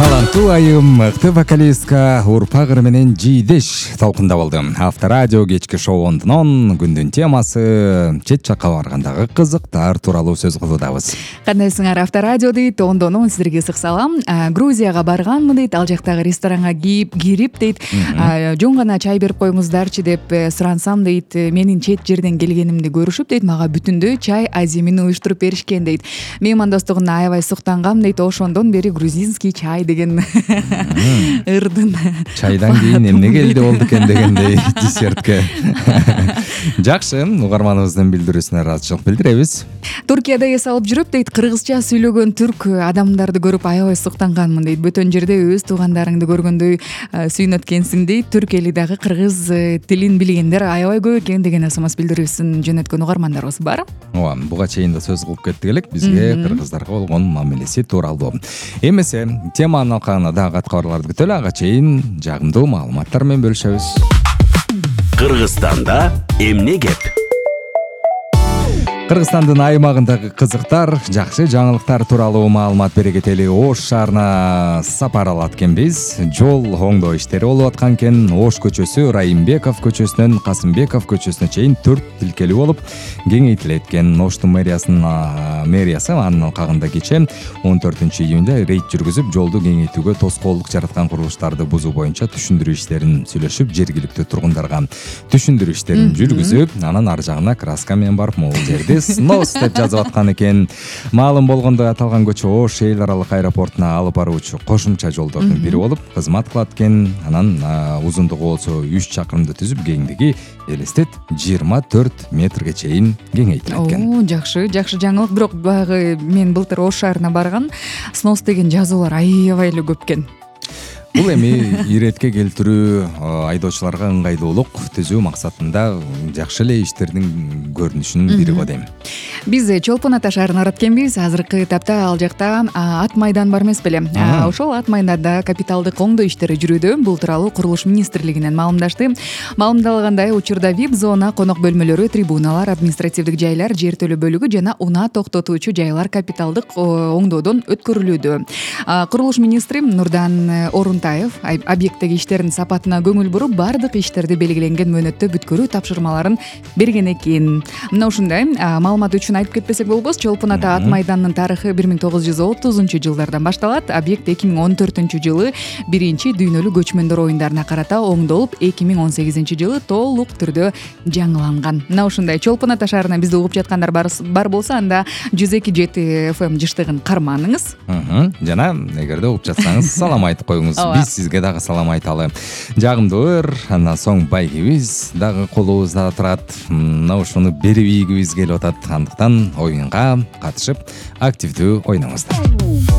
таланттуу айым мыкты вокалистка Урпак ыры менен Жийдеш талкында болду. Авторадио кечки шоуунун күндүн темасы чет жакка баргандагы кызыктар тууралуу сөз кылуудабыз. Кандайсыңар? Авторадио дейт, ондонун сиздерге ысык салам. Грузияга барганмын дейт, ал жактагы ресторанга кирип дейт, жөн гана чай берип коюңуздарчы деп сурансам дейт, менин чет жерден келгенимди көрүшүп дейт, мага бүтүндөй чай азимин уюштуруп беришкен дейт. Меймандостугуна аябай суктангам дейт, ошондон бери грузинский чай деген ырдын. Чайдан кийин эмне келди болду экен дегендей десертке. Жакшы, угарманыбыздын билдирүүсүнө ыраазычылык билдиребиз. Туркияда эс алып жүрүп дейт, кыргызча сүйлөгөн түрк адамдарды көрүп аябай суктанганмын дейт. Бөтөн жерде өз туугандарыңды көргөндөй сүйүнөт экенсиң дейт. Түрк эли дагы кыргыз тилин билгендер аябай көп экен деген смс билдирүүсүн жөнөткөн угармандарыбыз бар. Ооба, буга чейин да сөз кылып кеттик элек, бизге кыргыздарга болгон мамилеси тууралуу. Эмесе, теманын алкагына дагы кабарларды күтөлү, ага чейин жагымдуу маалыматтар менен бөлүшөбүз. Кыргызстанда эмне кеп? Кыргызстандын аймагындагы кызыктар, жакшы жаңылыктар тууралуу маалымат бере кетели. Ош шаарына сапар алат экенбиз. Жол оңдоо иштери болуп аткан экен. Ош көчөсү Райымбеков көчөсүнөн Касымбеков көчөсүнө чейин 4 тилкелүү болуп кеңейтилет экен. Оштун мэриясы анын алкагында кечээ 14-июнда рейд жүргүзүп, жолду кеңейтүүгө тоскоолдук жараткан курулуштарды бузуу боюнча түшүндүрүү иштерин сүйлөшүп, жергиликтүү тургундарга түшүндүрүү иштерин жүргүзүп, анан ар жагына краска менен барып могул жерди снос деп жазып аткан экен. Маалым болгондой, аталган көчө Ош эл аралык аэропортуна алып баруучу кошумча жолдордун бири болуп кызмат кылат экен. Анан узундугу болсо 3 чакырымды түзүп, кеңдиги элестет 24 метрге чейин кеңейтилет экен. Жакшы жаңылык. Бирок баягы мен былтыр Ош шаарына барган, снос деген жазуулар аябай эле көп экен. Бул эми иретке келтирүү, айдоочуларга ыңгайлуулук түзүү максатында жакшы эле иштердин көрүнүшүнүн бири го дейм. Биз Чолпон Ата шаарына барат экенбиз. Азыркы этапта ал жакта ат майдан бар эмес беле? Ошол ат майданда капиталдык оңдоо иштери жүрүүдө. Бул тууралуу Курулуш министрлигинен маалымдашты. Маалымдалгандай, учурда VIP зона, конок бөлмөлөрү, трибуналар, административдик жайлар, жер төлөө бөлүгү жана унаа токтотуучу жайлар капиталдык оңдоодон өткөрүлүүдө. Курулуш министри Нурдан Орунтаев объекттеги иштердин сапатына көңүл буруп, бардык иштерди белгиленген мөөнөттө бүткөрүү тапшырмаларын берген экен. Мына ушундай маалымат үчүн айтып кетпесек болбос. Чолпон Ата ат майданынын тарыхы 1930-жылдардан башталат. Объект 2014-жылы биринчи дүйнөлүк көчмөндөр оюндарына карата оңдолуп, 2018-жылы толук түрдө жаңыланган. Мына ушундай. Чолпон Ата шаарына бизди угуп жаткандар бар болсо, анда 102.7 FM жыштыгын карманыңыз. Жана эгерде угуп жатсаңыз, салам айтып коюңуз. Биз сизге дагы салам айталы. Жагымдуу ыр, андан соң байгибиз дагы колубузда турат. Мына ушуну берип ийгибиз келип атат. Андыктан оюнга катышып, активдүү ойноңуздар.